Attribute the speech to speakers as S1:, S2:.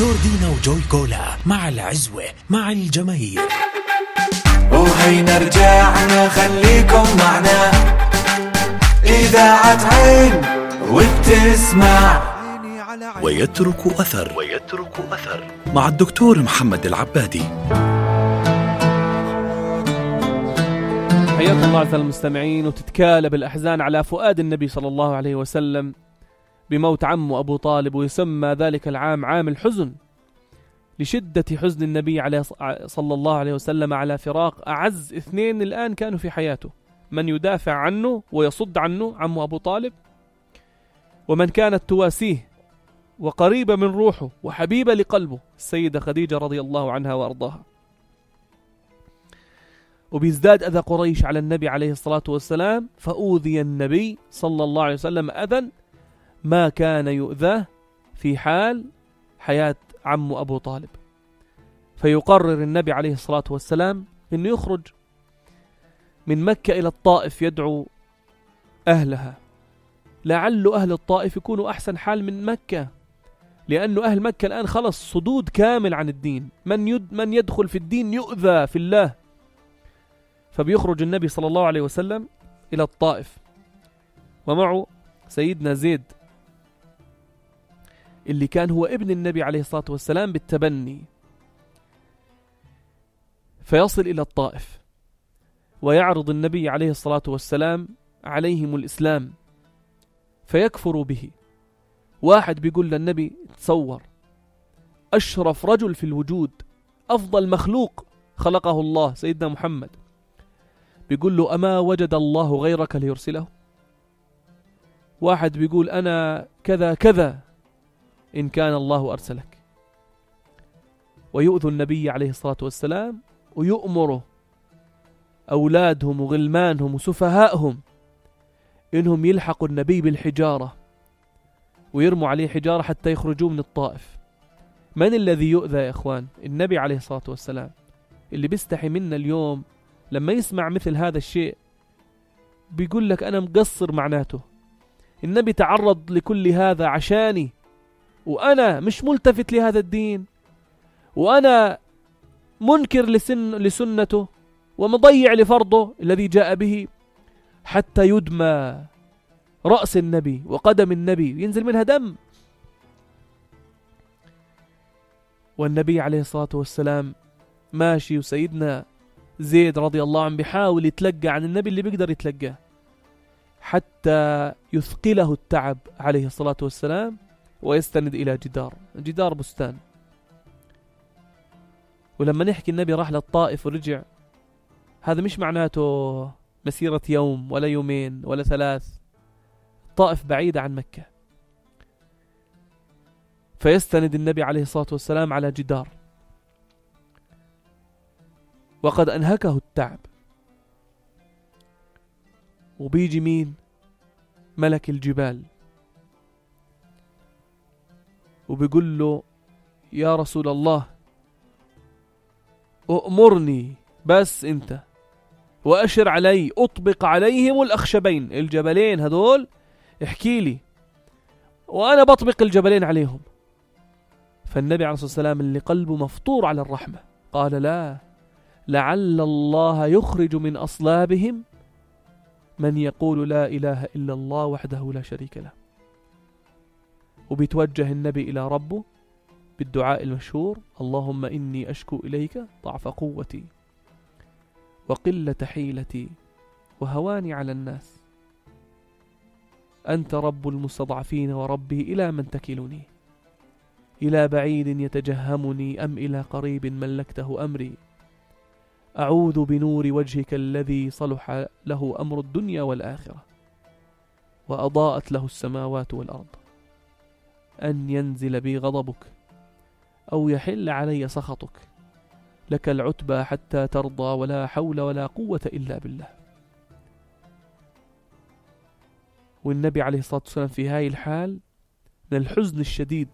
S1: جوردينا وجوي كولا مع العزوة مع الجماهير.
S2: وهينا رجعنا خليكم معنا إذاعة عين وبتسمع
S1: ويترك أثر مع الدكتور محمد العبادي.
S3: حياكم الله أعزائي المستمعين. وتتكالب الأحزان على فؤاد النبي صلى الله عليه وسلم بموت عمه أبو طالب، ويسمى ذلك العام عام الحزن لشدة حزن النبي صلى الله عليه وسلم على فراق أعز اثنين الآن كانوا في حياته، من يدافع عنه ويصد عنه عمه أبو طالب، ومن كانت تواسيه وقريبة من روحه وحبيبة لقلبه السيدة خديجة رضي الله عنها وأرضاها. وبيزداد أذى قريش على النبي عليه الصلاة والسلام، فأوذي النبي صلى الله عليه وسلم أذى ما كان يؤذاه في حال حياة عمه أبو طالب. فيقرر النبي عليه الصلاة والسلام أنه يخرج من مكة إلى الطائف يدعو أهلها، لعل أهل الطائف يكونوا أحسن حال من مكة، لأنه أهل مكة الآن خلص صدود كامل عن الدين، من يدخل في الدين يؤذى في الله. فبيخرج النبي صلى الله عليه وسلم إلى الطائف، ومعه سيدنا زيد اللي كان هو ابن النبي عليه الصلاة والسلام بالتبني. فيصل إلى الطائف ويعرض النبي عليه الصلاة والسلام عليهم الإسلام فيكفروا به. واحد بيقول للنبي تصور أشرف رجل في الوجود، أفضل مخلوق خلقه الله سيدنا محمد، بيقول له أما وجد الله غيرك ليرسله؟ واحد بيقول أنا كذا كذا إن كان الله أرسلك. ويؤذوا النبي عليه الصلاة والسلام ويؤمروا أولادهم وغلمانهم وسفهائهم إنهم يلحقوا النبي بالحجارة ويرموا عليه حجارة حتى يخرجوا من الطائف. من الذي يؤذى يا إخوان؟ النبي عليه الصلاة والسلام، اللي بيستحي منا اليوم لما يسمع مثل هذا الشيء بيقول لك أنا مقصر. معناته النبي تعرض لكل هذا عشاني، وأنا مش ملتفت لهذا الدين، وأنا منكر لسنته ومضيع لفرضه الذي جاء به، حتى يدمى رأس النبي وقدم النبي ينزل منها دم. والنبي عليه الصلاة والسلام ماشي، وسيدنا زيد رضي الله عنه بيحاول يتلقى عن النبي اللي بيقدر يتلقاه حتى يثقله التعب عليه الصلاة والسلام، ويستند إلى جدار بستان. ولما نحكي النبي راح للطائف ورجع، هذا مش معناته مسيرة يوم ولا يومين ولا 3. الطائف بعيدة عن مكة. فيستند النبي عليه الصلاة والسلام على جدار وقد أنهكه التعب. وبيجي مين؟ ملك الجبال، وبيقول له يا رسول الله أؤمرني بس أنت، وأشر علي أطبق عليهم الأخشبين، الجبلين هذول احكي لي وأنا بطبق الجبلين عليهم. فالنبي عليه الصلاة والسلام اللي قلبه مفطور على الرحمة قال لا، لعل الله يخرج من أصلابهم من يقول لا إله إلا الله وحده لا شريك له. وبيتوجه النبي إلى ربه بالدعاء المشهور اللهم إني أشكو إليك ضعف قوتي وقلة حيلتي وهواني على الناس، أنت رب المستضعفين وربي إلى من تكلني، إلى بعيد يتجهمني أم إلى قريب ملكته أمري، أعوذ بنور وجهك الذي صلح له أمر الدنيا والآخرة وأضاءت له السماوات والأرض، أن ينزل بي غضبك أو يحل علي سخطك، لك العتبى حتى ترضى ولا حول ولا قوة إلا بالله. والنبي عليه الصلاة والسلام في هاي الحال من الحزن الشديد